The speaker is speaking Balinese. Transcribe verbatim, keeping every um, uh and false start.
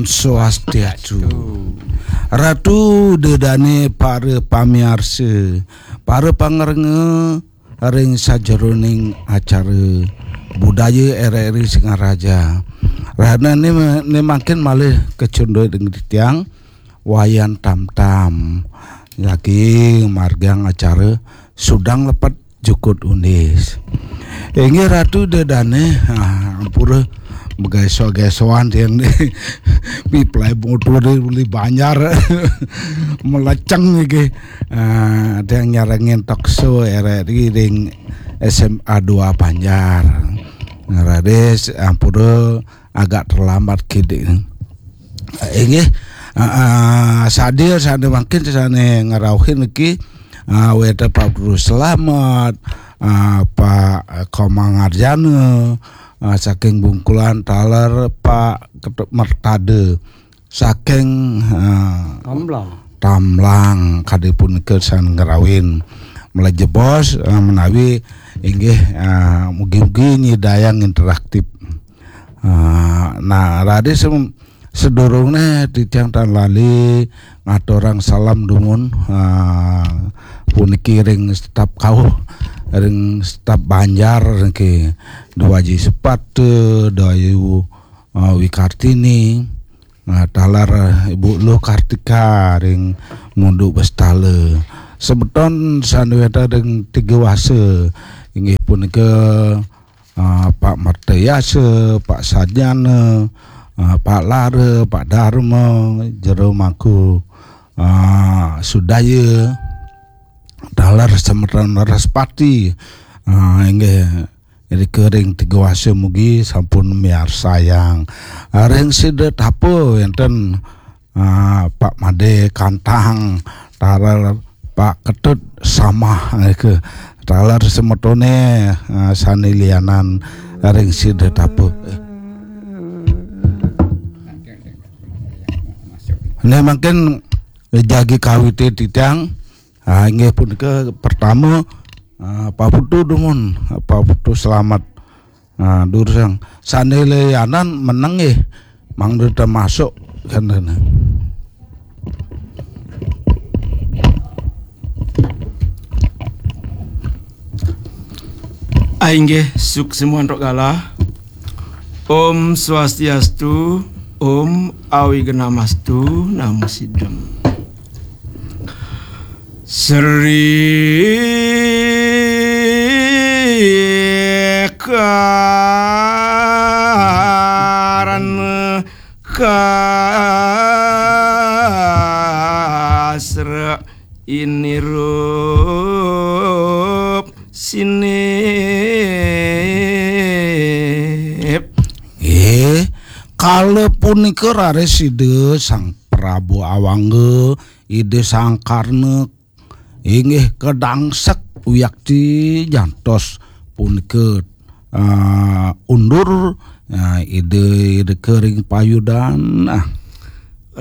Swastiastu. Ratu, dedane para pamiarsa, para pangrengga ring sajeroning acara budaya R R I Singaraja. Rahina ne, ne mangkin malih kacunduk ring titiang Wayan Tamtam. Lagi margiang acara Sudang Lepet Jukut Undis. Inggih Ratu Ida Dane, ah, ampura mageso-gesoan tiang ni. Piplai motor di uli Banjar. Meleceng iki. Ah, tiang nyarengin talk show R R I ring S M A dua Banjar. Raris ampura agak terlambat kidik. Inggih, ah, ah, sadia sane mangkin sane ngrauhin niki, ah, wenten Pak Guru Slamet, ah, Pak Komang Arjana, ah, saking Bungkulan, taler Pak Ketut Mertada saking, ah, Tamblang. Tamblang, kadi punika sane ngrauhin. Malih jebos, ah, menawi inggih, ah, mugi-mugi nyidayang interaktif. Ah, nah, raris sem-, sedurungne titiang tan lali ngaturang salam dumun, ah, puniki ring staf kauh, ring staf Banjar niki, Dwaji Sepata, Dayu, ah, Wikartini, ah, taler Ibu Luh Kartika ring Munduk Bestala. Semeton sane wenten ring Tiga Wasa, inggih punika ah, Pak Martayasa, Pak Sarjana, ah, Pak Lara, Pak Dharma, Jero Mangku, ah, Sudaya, taler semeton Raspati, ah, inggih ring Tiga Wasa mugi sampun miarsayang. Ah, ring sida tapa wenten ah, Pak Made Kantang, taler Pak Ketut Samah, eh, ke taler semetone, ah, sane lianan ring sida tapa. Eh. Nah, mangkin jagi kawite titiang, ah, inggih punika pertama, ah, Pak Putu dumun, Pak Putu Slamet. Ah, durusang sane lianan meneng nggih, mangda termasuk kantene. Ah, inggih, suksma antuk galah. Om Swastiastu, Om Awignamastu, Namo Siddham. Sri Karna Kasra Inirup Sinip. Eh, kala punika raris Ida Sang Prabu Awangga, Ida Sang Karna, inggih kadangsek wiakti jantos punika, ah, undur, ah, Ida, Ida ka ring payudan. Ah,